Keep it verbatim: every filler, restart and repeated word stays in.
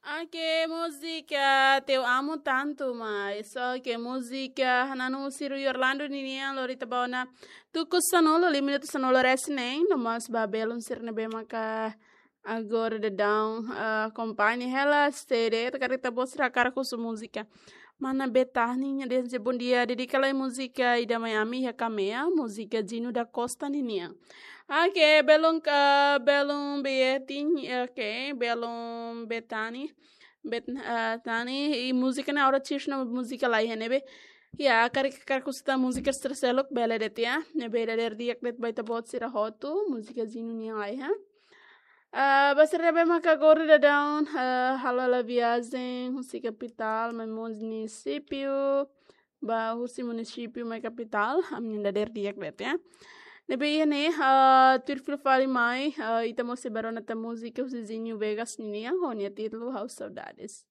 Oke, múzika Te Amo Tanto, mas oke, múzika Nanu Siru Yorlando ninian, lori ita ba ona tuku sanulu, lima minutu sanulu-resin-neen, no mós ba belun sira ne'ebé maka agora daudaun, ah, akompaña hela, sede, ita karik ita-boot sira hakarak husu múzika. Mana Betani, nia dehan bom dia, dedika lai múzika Ida Mai Ami iha Kamea, múzika Gino da Costa ninian. Oke, belun ka, belun Betani, oke, belun Betani, Bet-, ah, Tani, i múzika ne'e agora sis no múzika laiha ne'ebé. Ya, karik, karik husu ita múzika sira seluk, bele de'it ya. Ne'ebé dadeer di'ak de'it ba ita-boot sira hotu, múzika Gino nian laiha. Ah, ba sira ne'ebé maka agora daudaun, ah, halo hela viajen, husi kapitál, mai munisípiu, ba husi munisípiu mai kapitál, ami-nia dadeer di'ak de'it ya. Ne'ebé iha ne'e, ah, tuir fila fali mai, ah, ita mós sei bá rona tan múzika husi Zinho Vegas ninian, ho nia títulu Ha'u Saudades.